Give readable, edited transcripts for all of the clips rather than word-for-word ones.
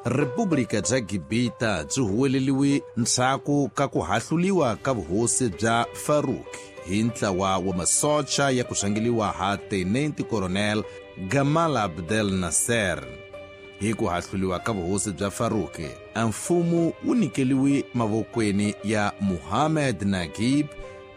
Republika bya Gibita byi huweleliwe ndzhaku ka ku hahluliwa ka vuhosi bya Farouk hi ntlawa wa masocha ya ku rhangeliwa ha Tenente Coronel Gamal Abdel Nasser. Hi ku hahluliwa ka vuhosi bya Farouk, a mfumo wu nyikeliwe mavokweni ya Muhammad Naguib,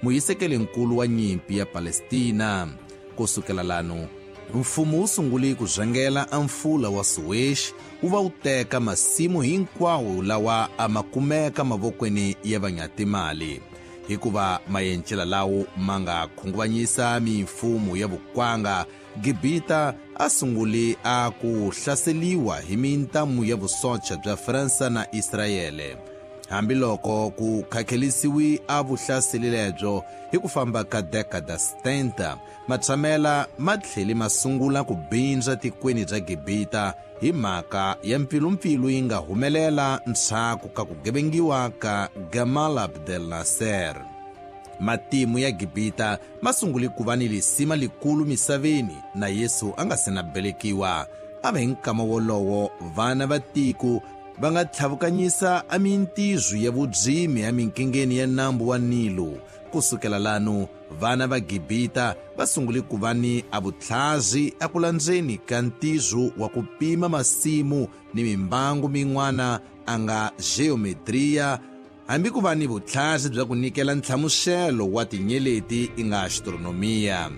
muhisekeli-nkulu wa nyimpi ya Palestina. Ku sukela lano, mfumo wu sungule ku rhangela a mfula wa Suez wu va wu teka masimu hinkwawo lawa a ma kumeka mavokweni ya vanyatimali, hikuva mayencela lawo ma nga khunguvanyisa mimfumo ya vukwanga. Gibita a sungule a ku hlaseliwa hi mintamu ya vusocha bya Fransa na Israyele. Hambiloko ku khakhelisiwi a vuhlaseli lebyo hi ku famba ka dekada 70, matshamela ma tlhele ma sungula ku bindza tikweni bya Gibita hi mhaka ya mpfilumpfilu yi nga humelela ndzhaku ka ku gevengiwa ka Gamal Abdel Nasser. Matimu ya Gibita ma sungule ku va ni lisima likulu misaveni na Yesu a nga se na belekiwa. A va hi nkama wolowo vana va tiko va nga tlhavukanyisa a mintizwi ya vudzimi eminkingeni ya nambu wa Nilo. Ku sukela lano, vana va Gibita va sungule ku va ni a vutlhazi eku landzeni ka ntizo wa ku pima masimu ni mimbangu min'wana a nga geometria, hambi ku va ni vutlhazi bya ku nyikela nhlamuselo wa tinyeleti i nga astronomia.